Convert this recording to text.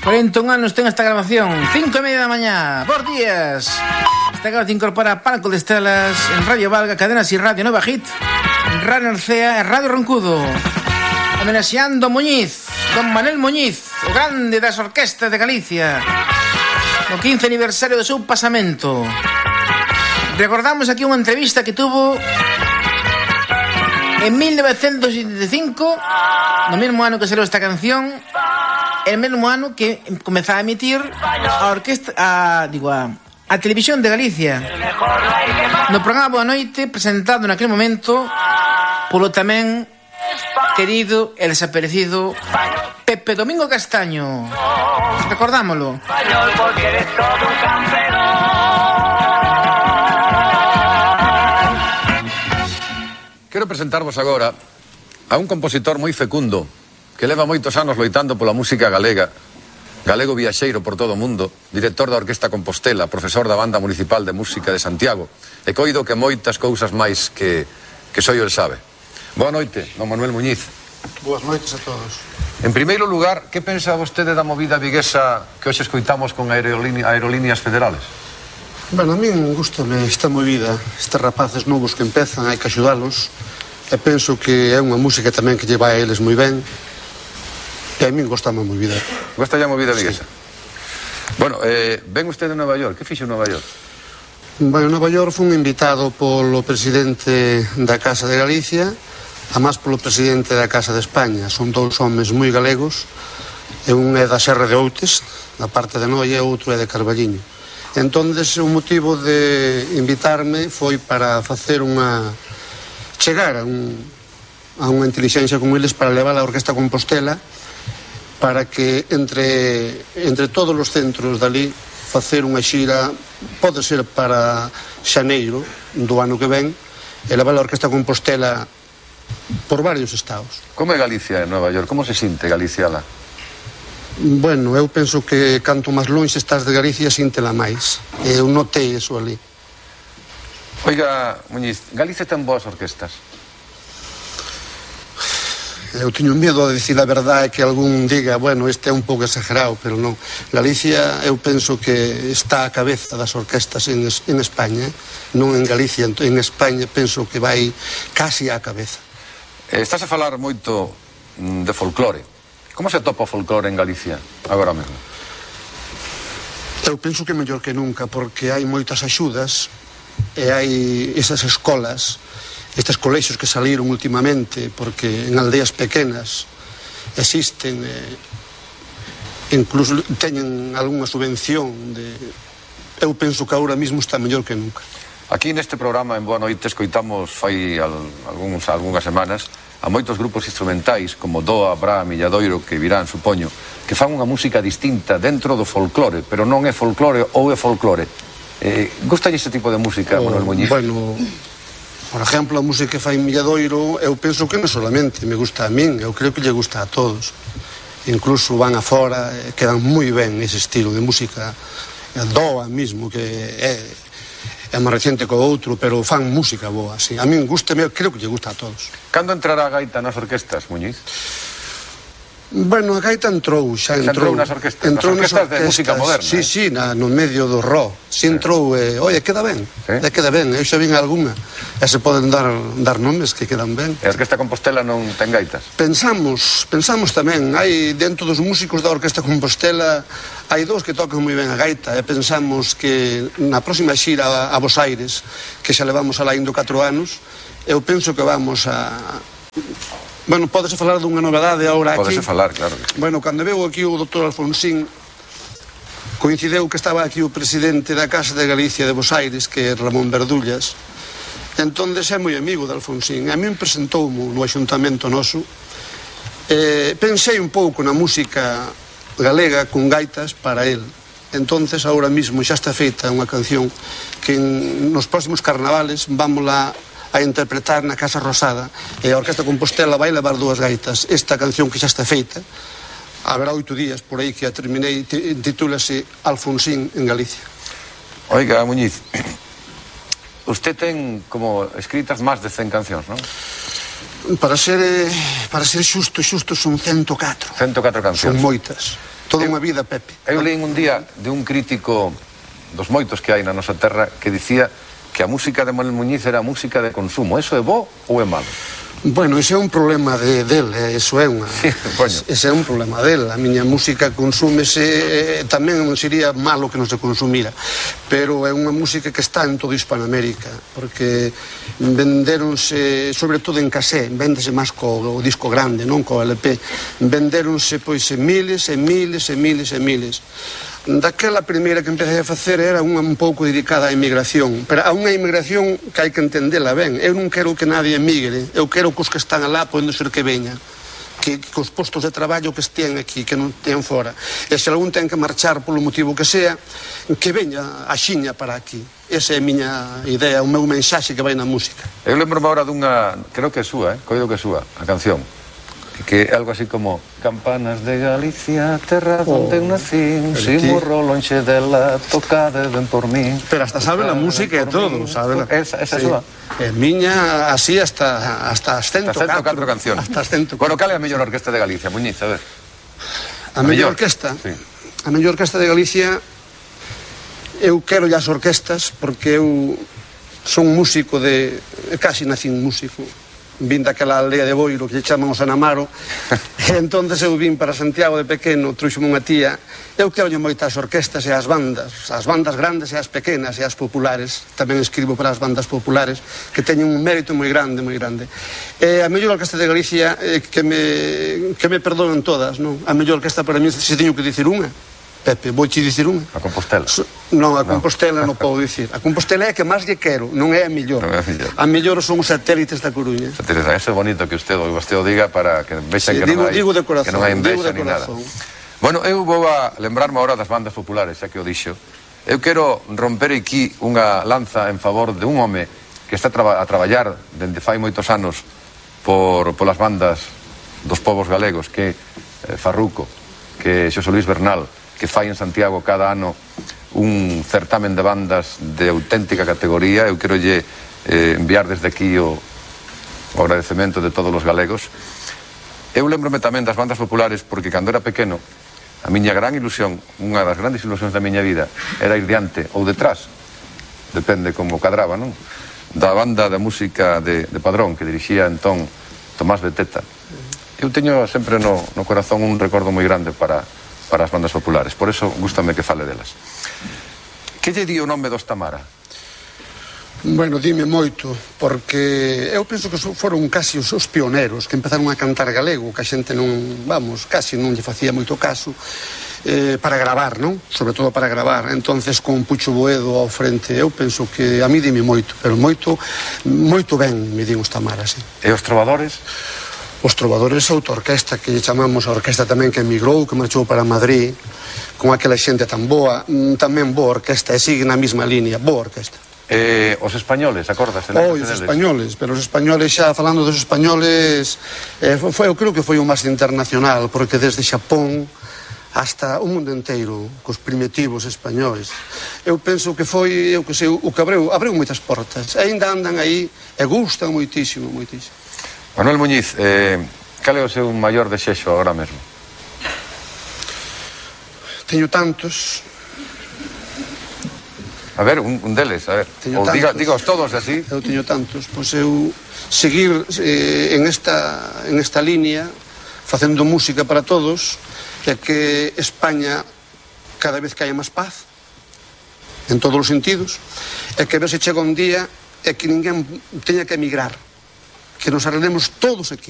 41 anos ten esta grabación, 5:30 da mañá. Bos días. Esta grava te incorpora Palco de Estelas en Radio Valga, Cadenas y Radio Nova Hit, Radio Narcea e Radio Roncudo. Homenaxeando Muñiz, Don Manuel Muñiz, o grande das orquestas de Galicia, no 15 aniversario do seu pasamento. Recordamos aquí unha entrevista que tuvo en 1975, no mesmo ano que salió esta canción, el mesmo ano que comezaba a emitir a orquesta, a Televisión de Galicia, no programa Boa Noite, presentado naquele momento polo tamén querido e desaparecido Pepe Domingo Castaño. Recordámoslo. Quero presentarvos agora a un compositor moi fecundo que leva moitos anos loitando pola música galega, galego viaxeiro por todo o mundo, director da Orquesta Compostela, profesor da Banda Municipal de Música de Santiago, e coido que moitas cousas máis que só el sabe. Boa noite, don Manuel Muñiz. Boas noites a todos. En primeiro lugar, que pensa vostede da movida viguesa que hoxe escoitamos con aerolíneas federales? Bueno, a min gustame esta movida, estes rapaces novos que empezan, hai que axudalos, e penso que é unha música tamén que lle vai a eles moi ben, e a min gostame a movida. Gosta a movida viguesa? Sí. Bueno, ven usted de Nova York, que fixo en Nova York? Bueno, en Nova York fun invitado polo presidente da Casa de Galicia, a máis polo presidente da Casa de España. Son dous homes moi galegos, e un é da Serra de Outes, da parte de Noia, e outro é de Carballiño. Entonces, o motivo de invitarme foi para facer chegar a unha intelixencia con eles para levar a Orquesta Compostela, para que entre todos os centros dali facer unha xira, pode ser para xaneiro do ano que ven, e levar a Orquesta Compostela por varios estados. Como é Galicia en Nova York? Como se sinte Galicia lá? Bueno, eu penso que canto máis longe estás de Galicia, síntela máis. Eu notei eso ali. Oiga, Muñiz, Galicia ten boas orquestas? Eu teño medo de dicir a verdade, que algún diga, bueno, este é un pouco exagerado, pero non. Galicia, eu penso que está a cabeza das orquestas en España, non en Galicia, en España penso que vai casi á cabeza. Estás a falar moito de folclore. Como se atopa o folclore en Galicia agora mesmo? Eu penso que mellor que nunca, porque hai moitas axudas e hai esas escolas, estes colexios que saliron últimamente, porque en aldeas pequenas existen, incluso teñen algunha subvención eu penso que agora mismo está mellor que nunca. Aquí neste programa en Boa Noite escoitamos fai algunhas semanas a moitos grupos instrumentais como Doa, Bra, Milladoiro, que virán, supoño, que fan unha música distinta dentro do folclore, pero non é folclore ou é folclore. Gustalle ese tipo de música, Manuel Muñiz? Bueno, por exemplo, a música que fai Milladoiro, eu penso que non solamente me gusta a min, eu creo que lle gusta a todos. Incluso van afora, quedan moi ben ese estilo de música. Doa mismo, que é máis reciente co outro, pero fan música boa, sí. A min gustame, creo que lle gusta a todos. Cando entrará a gaita nas orquestas, Muñiz? Bueno, a gaita entrou, xa entrou nas orquestas, nas orquestas de música moderna. Sí, no medio do rock. Si entrou, oye, queda ben, queda ben. Eu xa vin algunha, e se poden dar nomes que quedan ben. E a Orquesta Compostela non ten gaitas? Pensamos tamén, hai dentro dos músicos da Orquesta Compostela, hai dous que tocan moi ben a gaita, e pensamos que na próxima xira a Bos Aires, que xa levamos alá indo 4 anos, eu penso que vamos a... Bueno, pódese falar dunha novedade agora aquí. Pódese falar, claro. Bueno, cando veu aquí o doutor Alfonsín, coincideu que estaba aquí o presidente da Casa de Galicia de Bos Aires, que é Ramón Verdullas. Entonces é moi amigo de Alfonsín. A min presentoumo no axuntamento noso. Pensei un pouco na música galega con gaitas para el. Entonces, agora mismo xa está feita unha canción que nos próximos carnavales vamos a interpretar na Casa Rosada, e a Orquesta Compostela vai levar 2 gaitas. Esta canción que xa está feita, haberá 8 días por aí que a terminei, titúlase Alfonsín en Galicia. Oiga, Muñiz, usted ten como escritas máis de 100 cancións, non? Para ser xusto son 104. 104 cancións. Son moitas. Toda unha vida, Pepe. Eu leín un día de un crítico dos moitos que hai na nosa terra que dicía que a música de Manuel Muñiz era música de consumo. Eso é bo ou é malo? Bueno, ese é un problema del, eso é unha... Ese é un problema del. A miña música consúmese, tamén non sería malo que non se consumira, pero é unha música que está en toda Hispanoamérica, porque venderonse, sobre todo en casé, vendese máis co disco grande, non co LP, venderonse pois en miles e miles e miles e miles. Daquela primeira que empecé a facer era unha un pouco dedicada á inmigración, pero a unha inmigración que hai que entendela ben. Eu non quero que nadie emigre, eu quero que os que están alá poden ser que veña, que os postos de traballo que estén aquí, que non estén fora, e se algún ten que marchar polo motivo que sea, que veña a xiña para aquí. Esa é a miña idea, o meu mensaxe que vai na música. Eu lembro-me agora dunha, creo que é súa, coido que é súa, a canción, que é algo así como Campanas de Galicia, terra donde eu nacín, si morro lonxe dela, tocade ben por mí. Pero hasta sabe la música e todo, sabe? Esa é súa. É miña así hasta as 104 cancións. Hasta as 104. Bueno, cal é a mellor orquesta de Galicia, Muñiz? A ver. A mellor orquesta? Sí. A mellor orquesta de Galicia, eu quero as orquestas porque eu son músico de... casi nacín músico. Vin daquela aldea de Boiro que lle chaman o San Amaro e entonces eu vin para Santiago de pequeno, trouxome unha tía. Eu quero moitas orquestas e as bandas grandes e as pequenas e as populares. Tamén escribo para as bandas populares que teñen un mérito moi grande, moi grande. A mellor orquesta de Galicia que me perdonen todas, non? A mellor orquesta para mí, se teño que dicir unha, Pepe, vou te dicir unha. A Compostela? Non, a Compostela non podo dicir. A Compostela é a que máis lle quero, non é a mellor. A mellor son os satélites da Coruña. Eso é bonito que usted o diga para que vexan que non hai envexa ni nada. Bueno, eu vou a lembrarme agora das bandas populares, xa que o dixo. Eu quero romper aquí unha lanza en favor de un home que está a traballar dende fai moitos anos polas bandas dos povos galegos, que é Farruco, que é Xosé Luis Bernal, que fai en Santiago cada ano un certamen de bandas de auténtica categoría. Eu quero lle enviar desde aquí o agradecemento de todos os galegos. Eu lembrome tamén das bandas populares porque cando era pequeno a miña gran ilusión, unha das grandes ilusións da miña vida, era ir diante ou detrás, depende como cadraba, non? Da banda de música de Padrón que dirixía entón Tomás Beteta. Eu teño sempre no corazón un recordo moi grande para as bandas populares, por eso gústame que fale delas. Que lle di o nome dos Tamara? Bueno, dime moito, porque eu penso que foron casi os pioneros que empezaron a cantar galego, que a xente non, casi non lle facía moito caso, para gravar, non? Sobre todo para gravar. Entonces, con Pucho Boedo ao frente, eu penso que a mí dime moito, pero moito ben me din os Tamara, sí. E os trovadores? Os trovadores a autoorquesta, que chamamos a orquesta tamén que emigrou, que marchou para Madrid, con aquela xente tan boa, tamén boa orquesta, e sigue na mesma línea, boa orquesta. Os españoles, acordas? Os españoles, pero os españoles xa, falando dos españoles, eu creo que foi o máis internacional, porque desde Xapón hasta o mundo inteiro, cos primitivos españoles. Eu penso que foi, eu que sei, o que abriu moitas portas, ainda andan aí, e gustan moitísimo, moitísimo. Manuel Muñiz, cal é o seu maior desexo agora mesmo? Teño tantos. A ver, un deles, a ver. Ou digaos todos así. Eu teño tantos. Pois eu seguir en esta línea, facendo música para todos, e que España cada vez que haya máis paz, en todos os sentidos, e que ver se chega un día e que ninguén teña que emigrar, que nos arreglemos todos aquí.